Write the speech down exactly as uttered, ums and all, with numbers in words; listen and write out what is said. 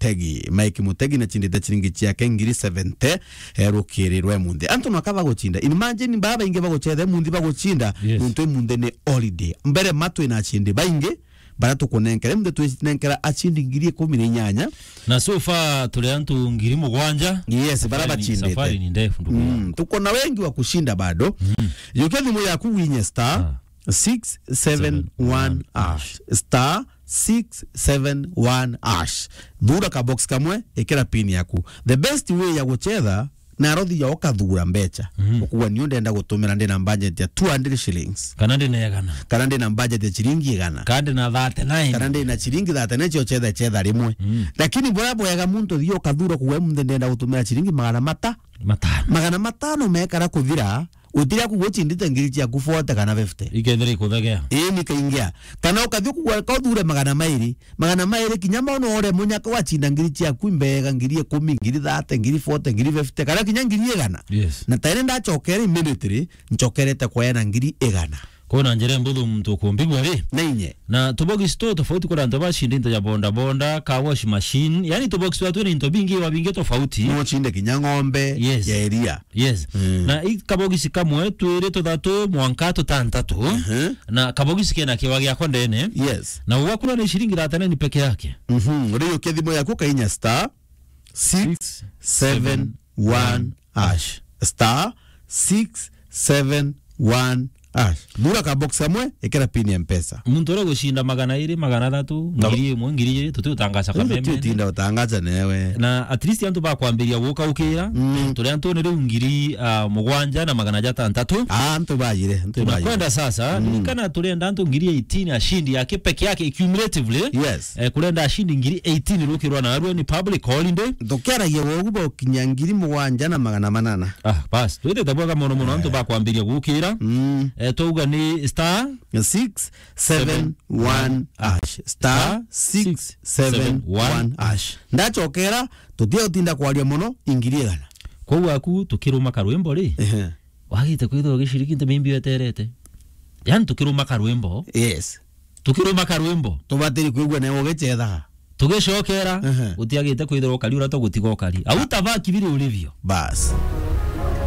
Mutegi. Mike Mutegi na chindite chiringi chiake ngiri seventy, eh, rukiri rwa imunthi. Antu naka baguchinda. Imagine baba baingi baguchetha imunthi baguchinda, Yes. nuntu imunthi ni holiday. Mbere ma twina achindi baingi, bara tukunenkera. Imunthi twinenkera achindi ngiri ikumi na inyanya. Na so far turi antu ngiri mugwanja. Yes, bara Safari ni, bachindite. Safari ni ndefu, ndugu yangu. Mm, tuko na wengi wa kushinda bado. Mm. Yukia thimu yaku winye star Ah. six seven one hash. Star six seven one hash. Thura ka box kamwe, ikira pin yaku. The best way ya guchetha, na rothi ya ukathura mbecha. Mhm. Ukuga, "Niu ndenda gutumira, ndina budget ya two hundred shillings." Kana ndina igana. Kana ndina budget ya chiringi igana. Kana ndina thirty-nine. Kana ndina chiringi thirty-nine cio chetha, chetha rimwe. Mm. Lakini bora bwega muntu thio ukathura kuga, "Imunthi ndenda gutumira chiringi magana mata-, Matano. Magana matano mekara kuthira, utiria kuguchindite ngiri ciaku forty kana fifty." Ikethira ikuthegea. Ii, nikaingia. Kana ukathi kugwa, ka uthure magana mairi. Magana mairi kinya mono ore munyaka wachinda ngiri ciaku imbega, ngiri ikumi, ngiri thirty, ngiri forty, ngiri fifty, kana kinya ngiri igana. Yes. Na tene ndachokere immediately, nchokerete kweana ngiri igana. Kwina njira mbuthu muntu ukumbigwa ri? Na inye. Na tubogisi tu tofauti kuri antu bacinde into ja boda boda, car wash machine. Yani tubogisi twa twina into bingi wa bingi tofauti. No chinde kinya ng'ombe Yes. ya iria. Yes. Mm. Na i kabogisi kamwe, twiri, tuthatu, mwanka tutantatu. Mhm. Na kabogisi kena kiwa giakwa ndene. Yes. Na ugakura ni shilingi thirty-nine peke yake. Mhm. Uriukia thimu yaku kainya star six seven one hash. Star six seven one hash. Thura ka box kamwe, ikira pin ya Mpesa. Muntu uria gucinda magana iri, magana athatu, Na ngiri imwe, ngiri ijiri, tuti utangaca Indi kameme. Tutinda utangaca newe. Na at least antu bakwambiria guka ukira, Mm. turi antu ni riu ngiri, ah, mugwanja na magana jatantatu. Ah, antu bajire, antu bajire. Tunakwenda sasa, Mm. ririkana turenda antu ngiri eighteen ashindi yake peke yake cumulatively. Yes. Eh, kurenda ashindi ngiri eighteen rukirwa na arua ni public holiday. Tukeragia wogu bokinya ngiri mugwanja na magana manana. Ah, bas. Twitite bwega mono mono, antu bakwambiria gukira. Mm. Eh, twauga ni star six seven one hash. Star six seven one hash. Ndachokera, tutia utinda kwaria mono, ingiri igana. Kwou aku tukiruma karwimbo ri? Ehe. Wagite kwithirwa giciriki nte mimbi weterete. Yani tukiruma karwimbo. Yes. Tukiruma karwimbo. Tubatiri kwigua nawe ugichethaga. Tugicokera, Ehe. utiagite kwithirwa ukari uria tugutiga ukari. Au tabaki vile ulivyo. Bas.